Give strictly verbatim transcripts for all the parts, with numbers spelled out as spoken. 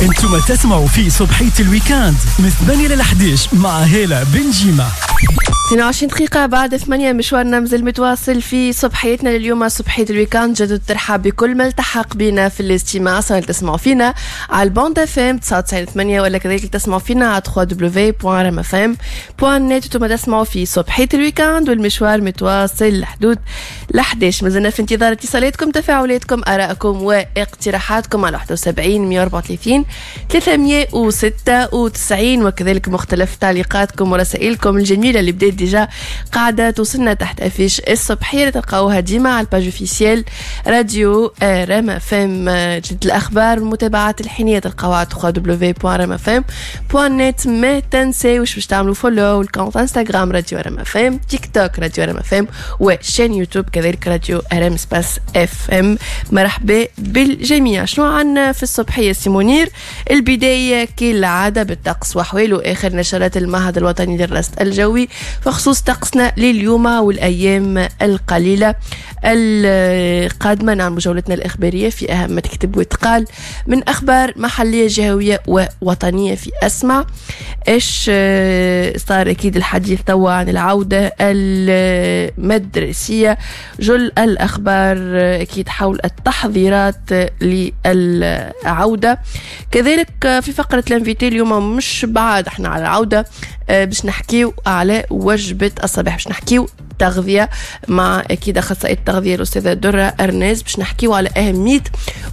انتم تسمعوا في صبحية ال week-end من ثمانية ل أحد عشر مع هالة بنجيمة. اثنين وعشرين دقيقة بعد ثمانية، مشوارنا مازال متواصل في صبحيتنا لليوم، صبحية ال week-end. جدد ترحب بكل ما التحق بنا في الاستماع، سواء تسمعوا فينا على ال bande FM تسعة وتسعين ثمانية ولا كذلك تسمعوا فينا على دبليو دبليو دبليو دوت رام اف ام دوت نت. انتم تسمعوا في صبحية ال week-end والمشوار متواصل لحدود ل أحد عشر. مازلنا في انتظار اتصالاتكم، تفاعلاتكم، ارائكم واقتراحاتكم على واحد وسبعين مئة وأربعة وثلاثين ثلاثمئة وستة وتسعين، وكذلك مختلف تعليقاتكم ورسائلكم الجميلة اللي بدات déjà قاعدة توصلنا تحت affiche الصبحية اللي تلقاوها ديما على ال page officielle راديو رام اف ام. جديد الأخبار والمتابعات الحينية تلقاوها على دبليو دبليو دبليو دوت رام اف ام دوت نت. ما تنساوش باش تعملوا follow ال compte انستغرام راديو رام اف ام، تيك توك راديو رام اف ام، و chaîne يوتيوب كذلك راديو رام espace اف ام. مرحبا بالجميع. شنو عنا في الصبحية سي منير؟ البداية كالعادة بالطقس وحواله، آخر نشرات المعهد الوطني للرصد الجوي بخصوص طقسنا لليوم والأيام القليلة القادمة. نعمل جولتنا الإخبارية في أهم ما تكتب وتقال من أخبار محلية جهوية ووطنية في أسمع. إيش صار؟ أكيد الحديث توا عن العودة المدرسية، جل الأخبار أكيد حول التحضيرات للعودة. كذلك في فقرة l'invité اليوم مش بعد احنا على العودة، باش نحكيو على وجبة الصباح، باش نحكيو تغذية مع أكيد أخصائية التغذية الأستاذة درة أرناز، باش نحكيو على أهمية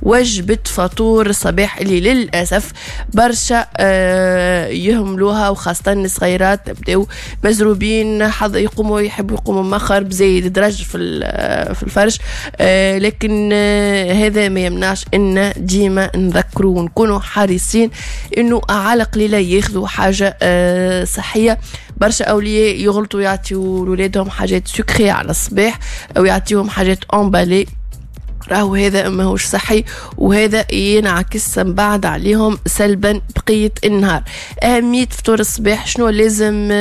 وجبة فطور الصباح اللي للأسف برشا يهملوها، وخاصة الصغيرات بداو مزروبين، حظ يقوموا يحبوا يقوموا مخر بزايد درج في في الفرش، لكن هذا ما يمنعش إن ديما نذكروا ونكونوا حريصين إنه على قليلة ياخذوا حاجة صحية. برشا أولياء يغلطوا يعطيوا لولادهم حاجات sucrées على الصباح أو يعطيهم حاجات emballées، راهو هذا ماهوش صحي وهذا ينعكس من بعد عليهم سلبا بقية النهار. أهمية فطور الصباح شنو لازم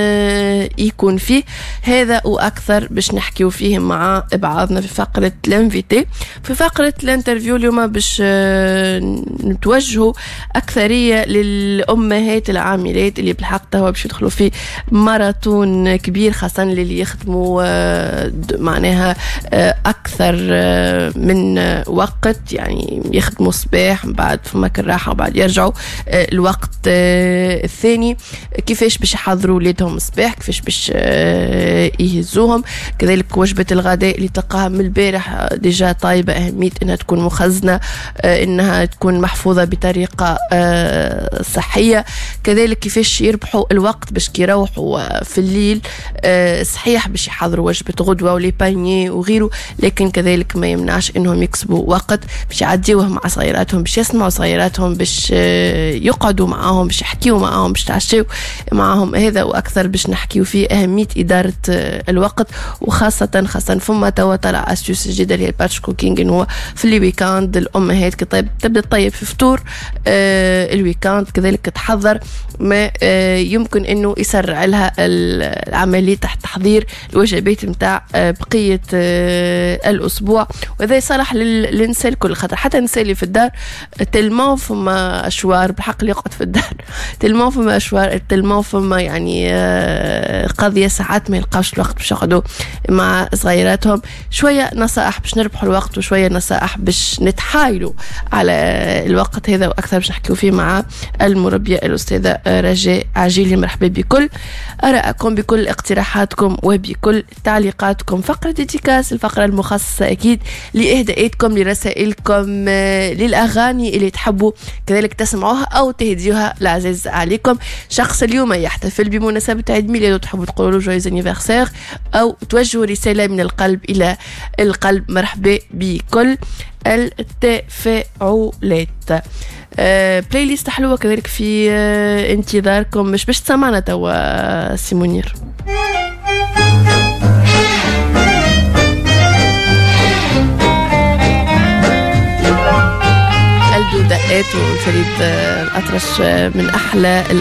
يكون فيه، هذا وأكثر باش نحكيو فيه مع بعضنا في فقرة l'invité. في فقرة l'interview اليوم باش نتوجهوا أكثرية للأمهات العاملات اللي بالحق توا باش يدخلوا في ماراثون كبير، خاصة اللي يخدموا معناها أكثر من وقت، يعني يخدموا صباح من بعد فما الراحة وبعد يرجعوا الوقت الثاني. كيفاش باش يحضروا ولادهم الصباح، كيفاش باش يهزوهم. كذلك وجبة الغداء اللي تلقاها من البارح déjà طايبة، أهمية انها تكون مخزنة، انها تكون محفوظة بطريقة صحية. كذلك كيفاش يربحوا الوقت باش كي يروحوا في الليل صحيح باش يحضروا وجبة غدوة و les paniers وغيره، لكن كذلك ما يمنعش انهم يكسبوا وقت باش يعديوه مع صغيراتهم، باش يسمعوا صغيراتهم، باش يقعدوا معاهم، باش يحكيوا معاهم، باش تعشوا معاهم. هذا واكثر باش نحكيو فيه اهمية ادارة الوقت، وخاصة خاصة فما توا طلع astuce جديدة اللي هي ال batch cooking، انه في les week-ends الامهات كي طيب تبدا تطيب في فطور ال week-end، كذلك تحضر ما يمكن انه يسرع لها العملية تحت تحضير الوجبات نتاع بقية الاسبوع. وهذا يصلح للنساء الكل، خاطر حتى النساء اللي في الدار tellement فما اشوار بالحق اللي يقعد في الدار tellement فما اشوار، tellement فما يعني قضية ساعات ما يلقاوش الوقت باش يقعدوا مع صغيراتهم. شوية نصائح باش نربحوا الوقت، وشوية نصائح باش نتحايلوا على الوقت هذا واكثر باش نحكيو فيه مع المربيه الاستاذة رجاء عجيلي. مرحبا بكل ارائكم، بكل اقتراحاتكم، وبكل تعليقاتكم. فقره dédicace، الفقرة المخصصة اكيد لاهداءاتكم، لرسائلكم، للأغاني اللي تحبوا كذلك تسمعوها أو تهديوها العزيز عليكم. شخص اليوم يحتفل بمناسبة عيد ميلاده تحبوا تقولوا له joyeux anniversaire أو توجهوا رسالة من القلب إلى القلب. مرحبا بكل التفاعلات. أه playlist حلوة كذلك في أه انتظاركم. مش باش تسمعنا توا سي منير. دقات وفريد الأطرش من أحلى